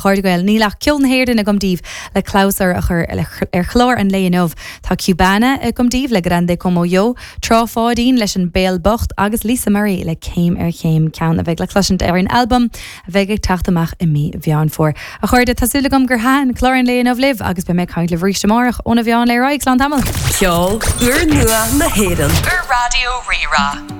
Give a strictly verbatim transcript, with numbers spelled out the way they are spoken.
Chairde Gael níl ach ceol na hÉireann agam daoibh le clabhsúr a chur ar chlár an lae inniu. Tá Cubana agam daoibh le Grande Como Yo, Trá Pháidín leis an Béal Bocht agus Lisa Murray le céim ar chéim ceann a bheidh le cloisint ar an albam a bheidh ag teacht amach i mí Mheán Fómhair. A chairde tá súil agam gur thaitin clár an lae inniu libh agus beidh mé ag caint libh arís amárach óna mheán lae ar aghaidh slán tamall. Ceol úrnua na hÉireann ar Raidió Rí-Rá.